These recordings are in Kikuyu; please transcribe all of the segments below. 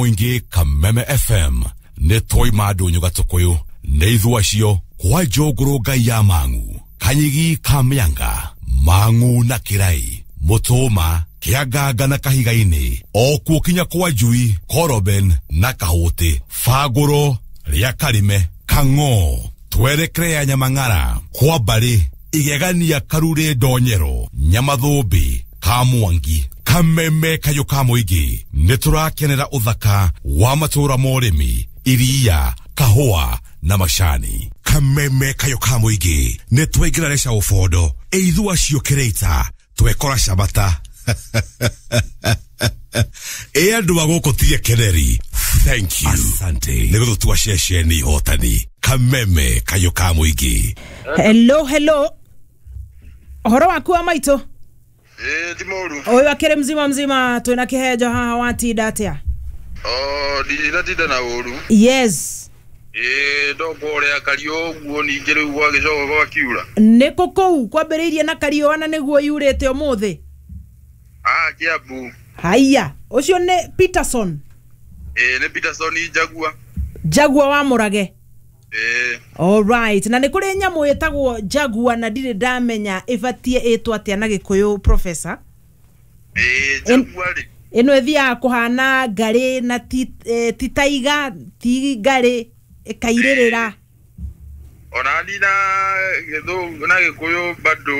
Mũingĩ Kameme FM nĩ twaima ndũnyũ gatũkũyũ nĩ ithuĩ acio kwa njũngũrũ ngai ya mang'u kanyigi ka mĩanga mang'u na kĩrai mũtũma kĩanganga na kahiga-inĩ o kuo kinya kwa njui koroben na kahũtĩ bangũro rĩa karime kang'o twerekere ya nyamang'ara kwa mbarĩ igegania karurĩ ndonyero nyamathũmbĩ ka mwangi Kameme kayũ ka mũingĩ nĩ tũrakenera ũthaka wa matũũra ma ũrĩmi iria kahũa na macani. Kameme kayũ ka mũingĩ nĩ twaingĩra reca ũbondo ĩithu acio kĩrĩita twekora cabata ĩ andũ a gũkũ tige keneri. Thank you, asante nĩ gũtũtua ceceni ihotani. Kameme kayũ ka mũingĩ. Hello, hello, ũhoro waku wa maitũ? Ĩĩ ti mũru. Ũyũ akĩrĩ mzima mzima, twĩna kĩhenjo haha, watinda atĩa? O ndinatinda na ũru. Yes. Ĩĩ ndokwo ũrĩa kariũ ũguo, ningĩ rĩu gwagĩcoka gwakiura. Nĩkũ kũu kwambĩrĩirie na kariũa na nĩguo yurĩte ũmũthĩ? Ah, Kiambu. Haiya, ũcio nĩ Peterson. Ĩĩ nĩ Peterson Njagua. Njagua wa Mũrage. Ĩĩ. Alright, na nĩ kũrĩ nyamũ ĩtagwo Jaguar na ndirĩ ndamenya ĩbatiĩ ĩtwo atĩa na Gĩkũyũ, professor. Ĩĩ Jaguar rĩ. Ĩno ĩthiaga kũhana ngarĩ na ti taiga ti ngarĩ ĩkairĩrĩra. Ona ni na gĩthũngũ na Gĩkũyũ bado.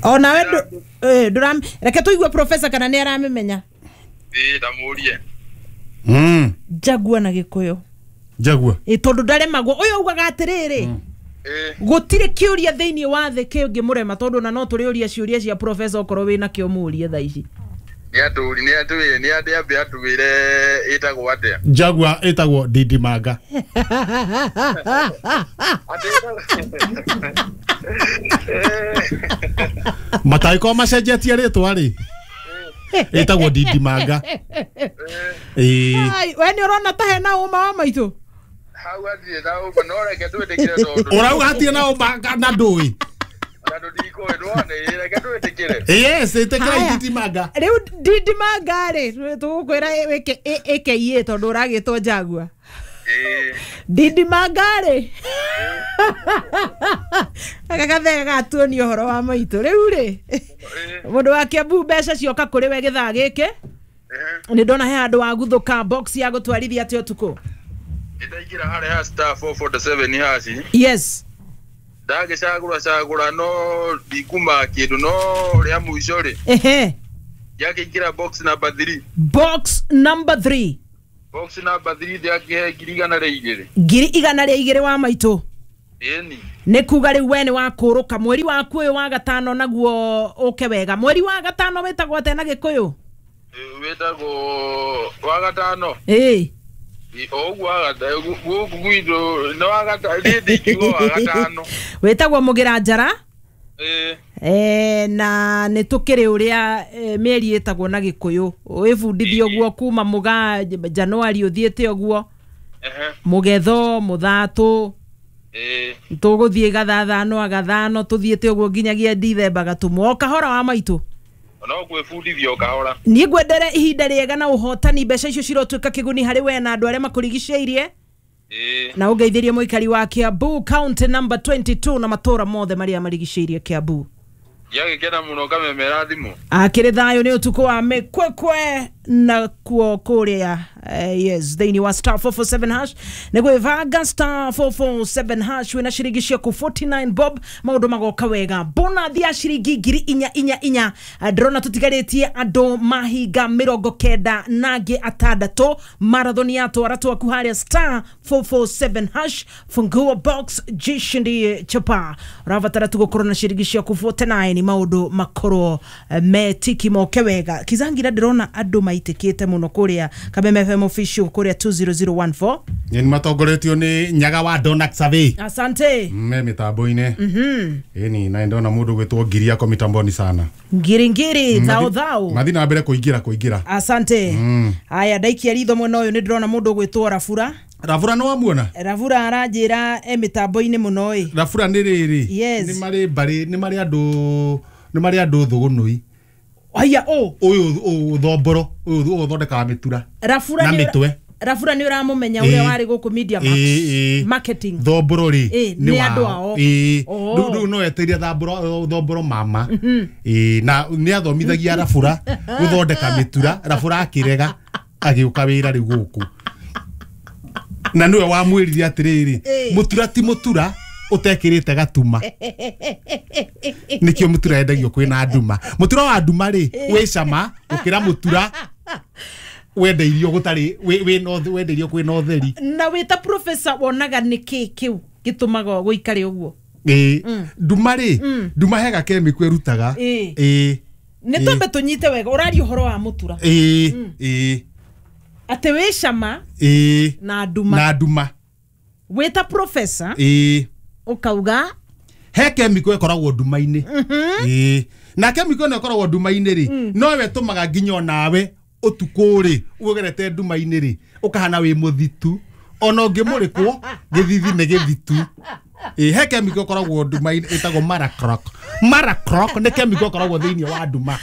Onawe ndũram reke tũigue professor kana nĩ aramĩmenya. Ĩĩ ndamũrie. Jaguar na Gĩkũyũ. Jaguar. Ĩ tondũ ndaremagwo ũyũ augaga atĩrĩrĩ, gũtirĩ kĩũria thĩinĩ wa thĩ kĩngĩmũrema, tondũ ona no tũrĩũria ciũria cia professor okorwo wĩna kĩo mũũrie thaa ici. Nĩ atũri nĩ atwĩre nĩ ambe atwĩre ĩtagwo atĩa. Jaguar ĩtagwo Didimanga. Matangĩkorwo macenjetie rĩtwa rĩ, ĩtagwo Didimanga. Ĩĩ. Ai, we nĩ ũrona ta hena ũma wa maitũ? Hau hatirĩ na ũma, no reke twĩtĩkĩre tondũ Ũrauga hatirĩ na ũma na ndũĩ. Tondũ ndikũĩ nĩwona, ĩĩ reke twĩtĩkĩre. Yes, ĩtĩkĩra Haya. Didimanga. Rĩu Didimanga rĩ, tũgũkwĩra wĩke ĩke tondũ ũragĩtwo Jaguar. Ĩĩ. Didimanga rĩ, gaka gathega gatuonia ũhoro wa maitũ. Rĩu rĩ, mũndũ wa Kiambu mbeca cioka kũrĩ we gĩthaa gĩkĩ, nĩ ndona he handũ waguthũka box ya gũtwarithia atĩa ũtukũ? Nĩndaingĩra harĩa ha star 447 haci. Yes. Ndagĩcagũra cagũra no ndikuma kĩndũ, no rĩa mũico rĩ, Ehe. ndakĩingĩra box number 3. Box number 3. Box number 3 ndakĩhe 102,000. 102,000 wa maitũ. Ĩni. Nĩ kuga rĩu we nĩ wakũrũka mweri waku ũyũ wa gatano naguo ũke wega. Mweri wa gatano wĩtagwo atĩa na Gĩkũyũ? Wĩtagwo wa gatano. Ĩĩ. O ũguo wa gatano gũkũ gwitũ nĩ wa gatano, niĩ ndingiuga wa gatano. Wĩtagwo Mũgĩra Njara. Ĩĩ. Na nĩ tũkĩrĩ ũrĩa mĩeri ĩtagwo na Gĩkũyũ. Wĩbundithie ũguo kuma mũgaa Januari ũthiĩte ũguo. Mũgetho, mũthatũ. Ĩĩ. Tũgũthiĩ gathathano gathano tũthiĩte ũguo nginyagia Dithemba gatũmwo. O kahora wa maitũ. No gwĩbundithia o kahora. Niĩ ngwendere ihinda rĩega na ũhotani, mbeca icio cirotuĩka kĩguni harĩ we na andũ arĩa makũrigicĩirie. Ĩĩ. Na ũngeithĩrie mũikari wa Kiambu county number 22 na matũra mothe marĩa marigicĩirie Kiambu. Ndiagĩkena mũno Kameme thimũ. Akĩrĩ thayũ nĩ ũtukũ wa mĩkwekwe na kuo kũrĩa yes, thĩinĩ wa star 447 hash nĩ gwĩbanga star 447 hash wĩna ciringi ciaku 49 bob, maũndũ magoka wega. Bonathi ya ciringi 4,444. Ndĩrona tũtigarĩtie andũ mahinga 96 marathon ya twara twaku harĩa star 447 hash, fungua box jishindie chapa. Ũrabatara tu gũkorwo na ciringi ciaku 49 maũndũ makorwo metiki moke wega. Kizangira ndĩrona andũ maitĩkĩte mũno kũrĩa Kameme FM official kũrĩa 20014. Nĩ matongoretio nĩ Nyaga wa Donak Survey. Asante. Me mĩtambo-inĩ. Ĩni na ndona mũndũ gwĩtwo Ngiri ako mitamboni sana. Ngiri ngiri thao thao. Mathi na mbere kũingĩra. Asante. Haya ndaikia ritho mwena ũyũ nĩ ndĩrona mũndũ ũgwĩtwo Rabura. Rabura nĩ wamuona? Rabura aranjĩra e mĩtambo-inĩ mũno ĩ. Rabura nĩ rĩrĩ. Yes. Nĩ marĩ mbarĩ, nĩ marĩ andũ, nĩ marĩ andũ thũgũnũi. Aya o Ũyũ thomboro, ũyũ ũthondekaga mĩtura. Rafura na nĩ mĩtwe. Rafura nĩ ũramũmenya ũrĩa warĩ gũkũ Media Max marketing. Thomboro rĩ nĩ andũ ao. Rĩu no eteire thomboro mama. Na nĩ athomithagia Rafura gũthondeka mĩtura. Rafura akĩrega agĩũka wĩra rĩu gũkũ. Na nĩwe wamwĩrire atĩrĩrĩ, mũtura ti mũtura ũtekĩrĩte gatuma. Nĩkĩo mũtura endagio kwĩna nduma. Mũtura wa nduma rĩ wĩ cama gũkĩra mũtura wendeirio gũtarĩ wendeirio kwĩna ũtheri. Na wĩ ta professor wonaga nĩkĩ kĩu gĩtũmaga gũikare ũguo? Nduma rĩ, nduma hega chemical ĩrutaga. Nĩ twambe tũnyite wega, ũraria ũhoro wa mũtura. Atĩ wĩ cama na nduma. Na nduma. Wĩ ta professor ũkauga he chemical ĩkoragwo nduma-inĩ. Na chemical ĩno ĩkoragwo nduma-inĩ rĩ, nowe ĩtũmaga nginya onawe ũtukũ rĩ ũgerete nduma-inĩ rĩ ũkahana wĩ mũthitu, ona ũngĩmũrĩkwo gĩthithi nĩ gĩthitu. He chemical ĩkoragwo nduma-inĩ ĩtagwo maracroc. Maracroc nĩ chemical ĩkoragwo thĩinĩ wa nduma.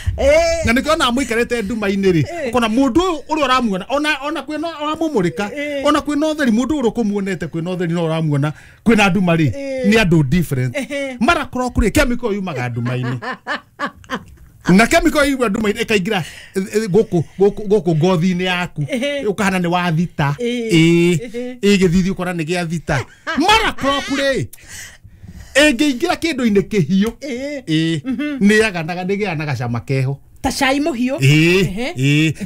Na nĩkĩo ona mũikarĩte nduma-inĩ rĩ, ũkona mũndũ ũyũ ũrĩa ũramuona ona kwĩna ũramũmũrĩka, ona kwĩna ũtheri, mũndũ ũrĩa ũkũmuonete kwĩna ũtheri no ũramuona kwĩna nduma rĩ, nĩ andũ different. Maracroc rĩ, chemical yumaga nduma-inĩ. Na chemical yumaga nduma-inĩ ĩkaingĩra gũkũ gũkũ ngothi-inĩ yaku, ũkahana nĩ wathita. Gĩthithi ũkona nĩ gĩa thita. Maracroc rĩ ĩngĩingĩra kĩndũ-inĩ kĩhiũ, nĩ gĩaga na gacama keho ta cai mũhiũ.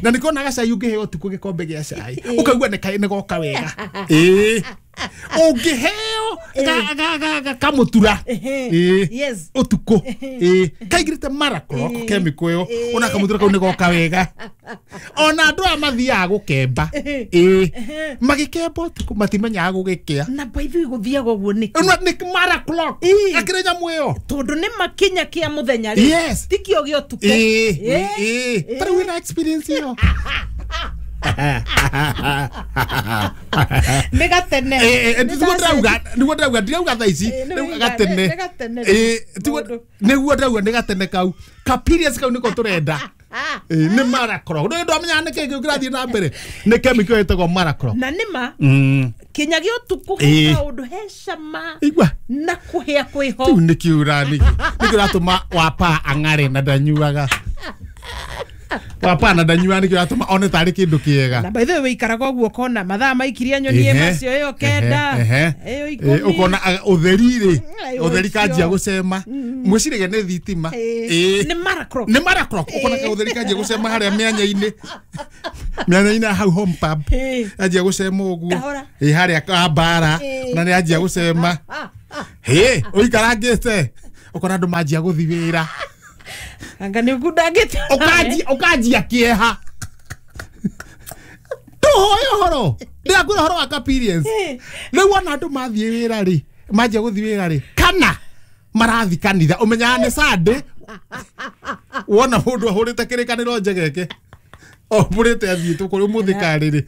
Na nĩkĩo ona gacai ũngĩheo ũtukũ gĩkombe gĩa cai ũkaigua nĩ goka wega. Ũngĩheo kamũtura ũtukũ kaingĩrĩte maracroc chemical ĩyo, ona kamũtura kau nĩ goka wega. Ona andũ aya mathiaga gũkemba, magĩkemba ũtukũ matimenyaga gũgĩkĩa. Na by the way gũthiaga ũguo nĩkĩ? Nĩ maracroc akĩrĩ nyamũ ĩyo tondũ nĩ makinya kĩa mũthenya rĩ, ti kĩo gĩa ũtukũ. Tarĩu wĩna experience ĩyo. Nĩ gatene. Nĩguo ndĩrauga, ndirauga thaa ici, rĩu gatene. Nĩguo ndĩrauga nĩ gatene kau. Ka periods kau nĩko tũrenda. Nĩ maracroc. Ndũĩ ndwamenyaga nĩkĩ kĩu kĩrathiĩ na mbere. Nĩ chemical ĩtagwo maracroc. Na nĩma kinya gĩa ũtukũ he kaũndũ he cama na kũhĩa kwĩho. Rĩu nĩkĩo ũratũma wapa ang'are na ndanyuaga. Wapa na ndanyuaga nĩkĩo ũratũma one tarĩ kĩndũ kĩega. Na by the way wĩikaraga ũguo ũkona mathaa maikirie nyonie macio ĩyo 9 ĩyo 10 ũkona ũtheri rĩ, ũtheri kanjia gũcema. Mwĩciragia nĩ thitima. Nĩ maracroc. Nĩ maracroc. Ũkona ũtheri kanjia gũcema harĩa mĩanya-inĩ. Mĩanya-inĩ hau home pub. Anjia gũcema ũguo. Harĩa mbara na nĩ anjia gũcema. Ũikarangĩte ũkona andũ manjia gũthiĩ wĩra. Anga nĩ ũkundangĩte. Ũkanjia kĩeha. Tũhoe ũhoro. Ndĩrakwĩra ũhoro wa experience. Rĩu ona andũ mathiĩ wĩra rĩ, manjia gũthiĩ wĩra rĩ, kana marathi kanitha, ũmenyaga nĩ Sunday. Wona mũndũ ahũrĩte kĩrĩkanĩro njegeke. Ohũrĩte athiĩte kũrĩ ũmũthĩ karĩrĩ.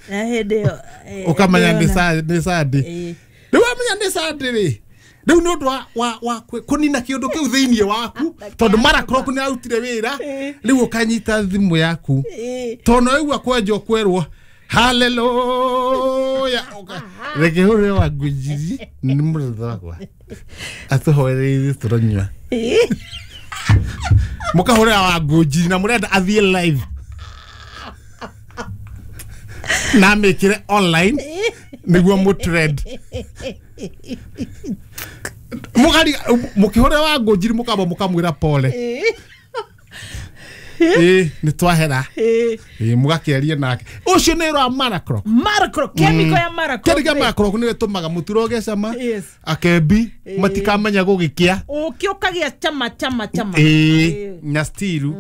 Ũkamenya nĩ Sunday. Rĩu wamenya nĩ Sunday rĩ, rĩu nĩ ũndũ wa kũnina kĩũndũ kĩu thĩinĩ waku, tondũ maracroc nĩ arutire wĩra, rĩu ũkanyita thimũ yaku. Tondũ no waigua kwenjwo kwerwo haleluya, reke hũrĩre wa ngũnjiri nĩ mũrata wakwa atũhoere ithuĩ tũranyua. Mũkahũrĩra wa ngũnjiri na mũrenda athiĩ live na amĩkĩre online nĩguo mũtrend. Mũkĩhũrĩra wa ngũnjiri mũkamba mũkamwĩra pole. Nĩ twahera. Mũgakĩaria nake. Ũcio nĩ wa maracroc. Maracroc, chemical ya maracroc. Chemical ya maracroc nĩyo ĩtũmaga mũtura ũgĩe cama. Akembi matikamenya gũgĩkĩa. Ũkĩ ũkagĩa chama chama chama. Na still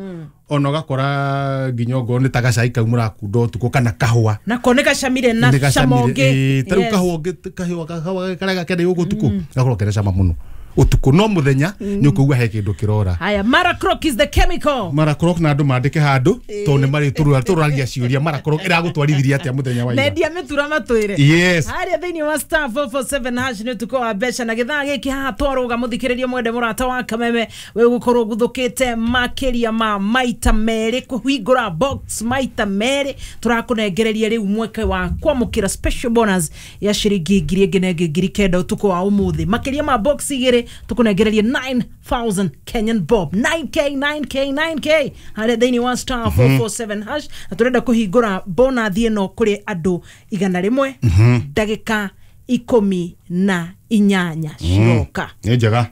ona ũgakora nginya ongorwo nĩ ta gacai kau mũrakunda ũtukũ kana kahũa. Nako nĩ gacamire na cama ũngĩ. Ta rĩu kahũa ũngĩ kahũa karĩa gakenda gũkũ ũtukũ gakorwo kena cama mũno. Ũtukũ no mũthenya nĩ ũkũigua he kĩndũ kĩrora. Haya, Maracroc is the chemical. Maracroc na andũ mandĩke handũ tondũ nĩ marĩ tũrũragia ciũria Maracroc ĩragũtwarithirie atĩa mũthenya wa ira. Nendia mĩtura matwĩre. Yes. Harĩa thĩinĩ wa star 447 hash nĩ ũtukũ wa mbeca na gĩthaa gĩkĩ haha twarũga mũthikĩrĩria mwende mũrata wa kameme wĩ gũkorwo guthũkĩte makĩria ma maita merĩ kũhingũra box maita merĩ tũrakũnengereria rĩu mweke wa kwamũkĩra special bonus ya ciringi 1,000 na ĩngĩ 9,000 ũtukũ wa ũmũthĩ. Makĩria ma box igĩrĩ tũkũnengereria 9,000 Kenyan bob, 9K 9K 9K harĩa thĩinĩ wa star 447 hash, na tũrenda kũhingũra bonathi ĩno kũrĩ andũ 100 ndagĩka 18 ciroka. Nĩ njega.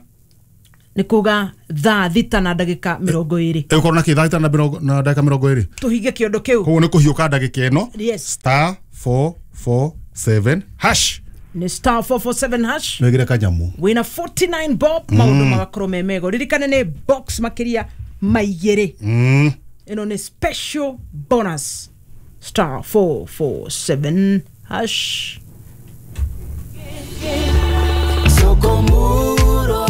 Nĩ kuga thaa 6 na ndagĩka 20. Ĩgũkorwo na kĩ thaa 6 na ndagĩka 20? Tũhinge kĩondo kĩu. Koguo nĩ kũhiũka ndagĩka ĩno. Yes. Star 447 hash. Nĩ star 447 hash. Nĩgĩre kanyamu. Wĩna 49 bob maũndũ magakorwo me mega. Ririkane nĩ box makĩria maigĩrĩ. Ĩno nĩ special bonus star 447 hash. Soko Murwa,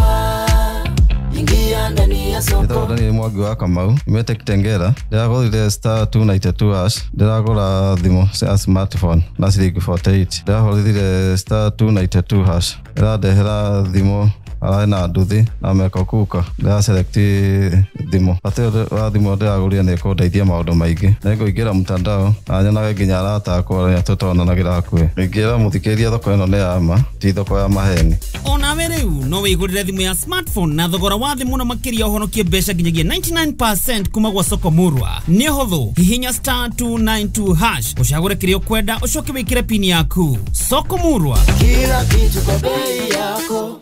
ingia ndani ya soko. Nĩtagwo Daniel Mwangi wa Kamau, nyumĩte Kitengela. Ndĩragũrire star 292 hash, ndĩragũra thimũ cia smartphone na ciringi 48. Ndĩrahũrire star 292 hash, ĩrandehera thimũ ararĩ na nduthi na meko kuka. Ndĩraselect thimũ. Bata ũyũ wa thimũ ndĩragũrire nĩ ĩkũndeithia maũndũ maingĩ. Nĩngũingĩra mtandao na nyonage nginya arata akwa arĩa tũtonanagĩra hakuhĩ. Ingĩra mũthikĩrĩria thoko ĩno nĩ ya ma, ti thoko ya maheni. Onawe rĩu no wĩgũrĩre thimũ ya smartphone na thogora wa thĩ mũno makĩria ũhonokie mbeca nginyagia 99% kuma gwa Soko Murwa. Nĩ ũhũthũ, hihinya star 292 hash ũcagũre kĩrĩa ũkwenda ũcoke wĩkĩre pini yaku. Soko Murwa, kila kitu kwa bei yako.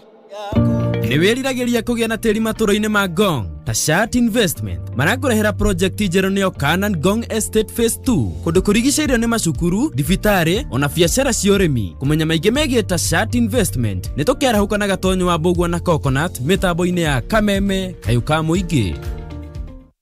Nĩ wĩriragĩria kũgĩa na tĩri matũra-inĩ ma Ngong ta Shat Investment marakũrehera project njerũ nĩyo Canaan Ngong Estate Phase 2 kũndũ kũrigicĩirio nĩ macukuru, thibitarĩ ona biacara cia ũrĩmi. Kũmenya maingĩ megiĩ ta Shat Investment nĩ tũkĩarahũka na Gatonyo wa Mbũgua na Coconut mĩtambo-inĩ ya Kameme kayũ ka mũingĩ.